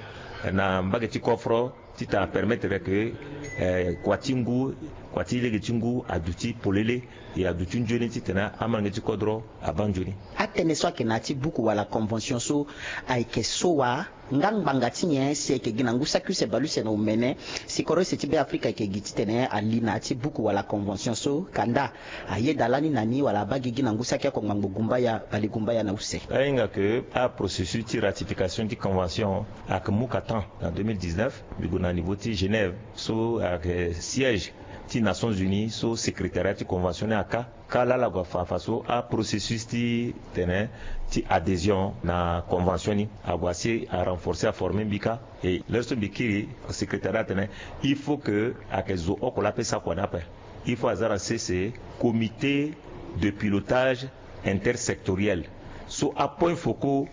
na mbage ti kofro titene apermettre que, eh, kua ti ngu, kua ti lege ti ngu aduti polele, e aduti nzoni titene amolenge ti kodro abaa nzoni. Atënë so ayeke na ya ti buku wala convention so ayeke so wa? Nga ngbanga ti nyen si ayeke gi na ngu saki use bale use na omene si kodro use ti Be Afrika ayeke gi titene ali na ya ti buku wala convention so? Kanda ayeda lani na ni wala abaa gigi na ngu saki oko ngbangbo gumbaya bale gumbaya na use? Ahinga ke aprocessus ti ratification ti convention ayeke mu ka temps. Na deux mille dix-neuf mbi gue na niveau ti Genève so ayeke siège ti Nations Unies so secrétariat ti convention ni aka. Kâ laa ala gue afa afa so aprocessus ti tene ti adhésion na convention ni ague asi arenforcer aformer mbi kâ. E l'heure so mbi kiri, secrétariat atene il faut que ayeke zo oko laa ape sara kua ni ape. Il faut aza na sese comité de pilotage intersectoriel so apoints focaux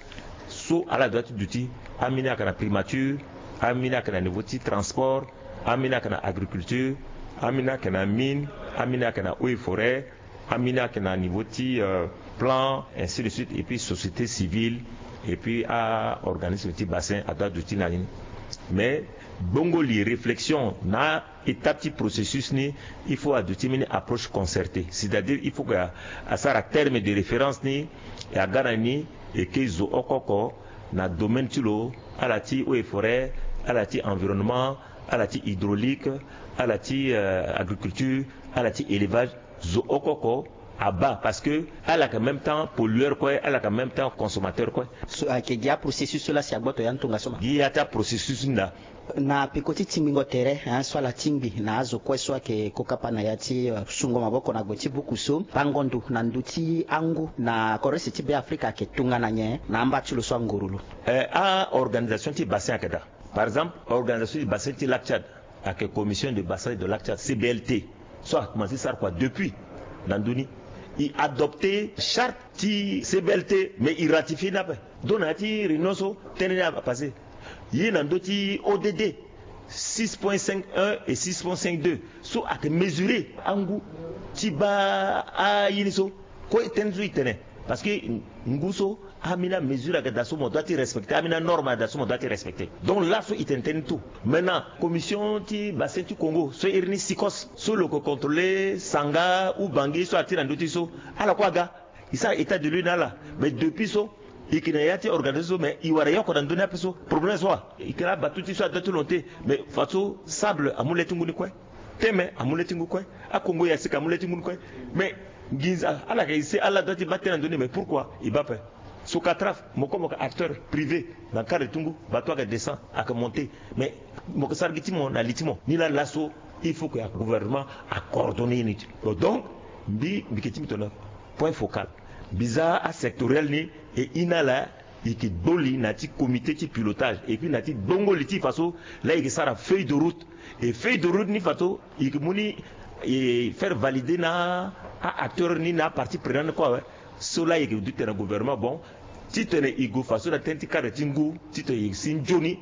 so ala doit ti duti. Ambeni ayeke na primature, ambeni ayeke na niveau ti transport, ambeni ayeke na agriculture, ambeni ayeke na mine, ambeni ayeke na eaux et forêts, ambeni ayeke na niveau ti, euh, plan, ainsi de suite, et puis société civile, et puis a organisme ti bassin adoit duti na ni. Mais bongo li réflexion na étape ti processus ni, il faut aduti mbeni approche concertée, c'est-à-dire il faut que asara terme de référence ni e aga na ni, e ke zo oko oko na domaine ti lo, ala ti eaux et forêts, ala ti environnement, ala ti hydraulique, ala ti, euh, agriculture, ala ti élevage. Zo oko oko abaa parce que ala yeke même temps pollueur kue, ala yeke même temps consommateur kue. So ayeke gi aprocessus so laa si agboto ya ni tongaso ma? Gi ya ti aprocessus ni daa. Na peko ti tingbingo tere, hein, so ala tingbi na azo kue so ayeke kokapa na ya ti, euh, sungo maboko na gbe ti buku so, bango ndo na ndö ti angu na kodro use ti Be Afrika ayeke tongana nyen na amba ti lo so anguru lo? Eh, a organisation ti bassin ayeke daa. Par exemple organisation ti bassin ti lac Tchad ayeke commission de bassin de lac Tchad, C B L T, so akomanse sara kua depuis na ndö ni. E adopter charte ti C B L T mais e ratifier ni ape. Donc na ya ti réunion so tënë ni apasse. Ye na ndö ti O D D six point cinq un et six point cinq deux so ayeke mesurer angu ti baa aye ni so. Kue tënë so e tene parce que ngu so ambeni amesure ayeke daa so mo doit ti respecter, ambeni anorme ayeke daa so mo doit ti respecter. Donc laso e tene tënë ni tout. Maintenant commission ti bassin ti Congo so iri ni SICOS so lo yeke contrôler Sanga ou Bangui so ati na ndö ti so, ala kue aga e sara état de lieu na ala. Mais depuis so e yeke na ya ti organisation so mais e wara e oko na ndö ni ape so. Problème so wa e yeke na abateau ti so adoit ti lo te. Mais fadeso sable amu le ti ngu ni kue. Teme amu le ti ngu kue. Akongo ya sika amu le ti ngu ni kue. Mais nginza ala yeke essayer ala doit ti baa tënë na ndö ni mais pourquoi e baa ape? Socatraf mo kue mo yeke acteur privé na cadre ti ngu, bateau ayeke descend ayeke monter. Mais mo yeke sara gi ti mo na li ti mo ni laa laso. Il faut que gouvernement a coordonné ye ni ti lo. Donc mbi mbi ke ti mbi tongana point focal, mbi za asectoriel ni. E ina la e ke gbo li na ya ti comité ti pilotage et puis na ya ti gbongo li ti faso la e ke sara feuille de route. Et feuille de route ni faso e ke mu ni e faire valider na a acteur ni na apartie prenante kue awe. So la e ke du tene gouvernement bon titene e gue faso na tënë ti cadre ti ngu titene e si nzoni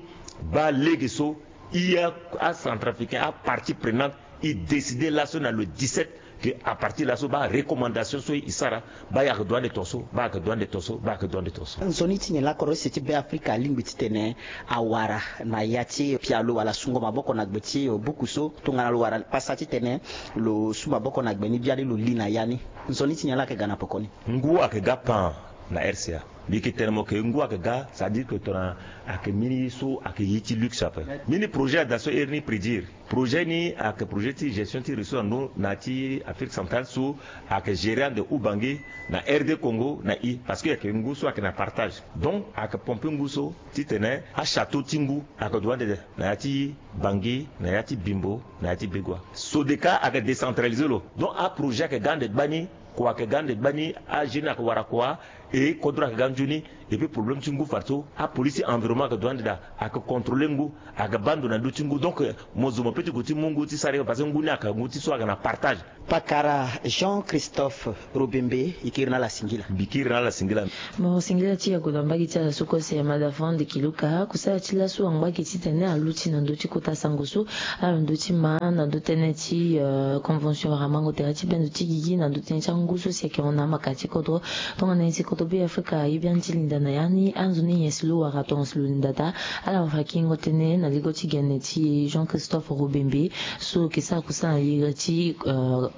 baa lege so i a acentrafricain apartie prenante e décider laso na le dix-sept, que à partir laso baa recommandation so e sara baa ayeke du ande tongaso baa ayeke du ande tongaso baa ayeke du ande tongaso. Nzoni ti nyen la kodro use ti Beafrika alingbi titene awara na ya ti pialo wala sungo maboko na gbe ti buku so tongana lo wara pasa titene lo su maboko na gbe ni biani lo li na ya ni? Nzoni ti nyen la ayeke ga na poko ni? Ngu ayeke ga pan na R C A. Mbi yeke tene mo ke ngu ayeke ga, c'est-à-dire que tongana ayeke mbeni ye so ayeke ye ti luxe ape. Mbeni projet ada so ere ni prédire. Projet ni ayeke projet ti gestion ti ressource na ndo na ya ti Afrique centrale so ayeke gérer ande Ubangi na R D Congo na i parce que ayeke ngu so ayeke na partage. Donc ayeke pomper ngu so titene achâteau ti ngu ayeke du ande na ya ti Bangi, na ya ti Bimbo, na ya ti Begoua. Sodeka ayeke décentraliser lo. Donc aprojet ayeke ga ande gbani. Kua ayeke ga ande gbani, ajeune ayeke wara kua. E kodro ayeke ga nzoni. Et puis problème ti ngu fadeso apolice ti environnement ayeke du ande daa, ayeke contrôler ngu, ayeke baa ndo na ndö ti ngu. Donc mo zo mo pe ti gue ti mu ngu ti sara ye parce que ngu ni ayeke ngu ti so ayeke na partage. Pakara Jean Christophe Robembe, e kiri na ala singila. Mbi kiri na ala singila. Mo singila ti yago na mbage ti ala so kue si amada fande kiluka kusala ti laso angba gi titene aluti na ndö ti kota sango so ala ndö ti ma na ndö tënë ti convention wara mango tere ti bendo ti gigi na ndö tënë ti angu so si ayeke hon na amaka ti kodro. Tongana nyen si kodro Beafrika aye biani ti linda na ya ni anzoni nyen si lo wara tongaso lo linda daa? Ala wara kingo tënë na ligo ti gene ti Jean Christophe Robembe so ke sara kusala na lege ti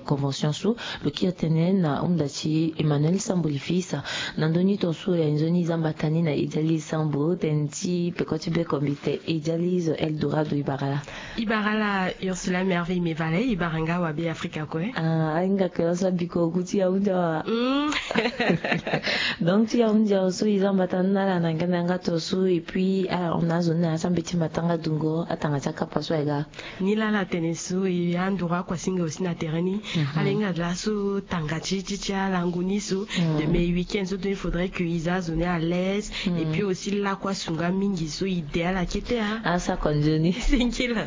convention so. Lo kiri tënë na hunda ti Emmanuel Sambo Lifisa. Na ndö ni tongaso ya nzoni e za mbata ni na Ediali Sambo tënë ti peko ti be kombi te. Ediali zo Eldorado, e bara laa? E bara laa Ursula Merveille Mevale, e bara nga wa Beafrika kue. Ah, ahinga ke laso abiko gu ti yahundi awa. Donc ti yahundi awa so e za mbata ni na ala na ngia na yanga tongaso et puis ala hon na azo ni na ya ti ambeti matanga dungo atanga ti akapa so aye ga. Ni laa ala tene so e anduru akuasinga aussi na terrain ni. Ala hinga laso tanga ti ti ti alango ni so. Mais week-end so donc il faudrait que e za azo ni à l'aise. Et puis aussi lakue asunga mingi so e de ala kete a. Asa konzoni singila.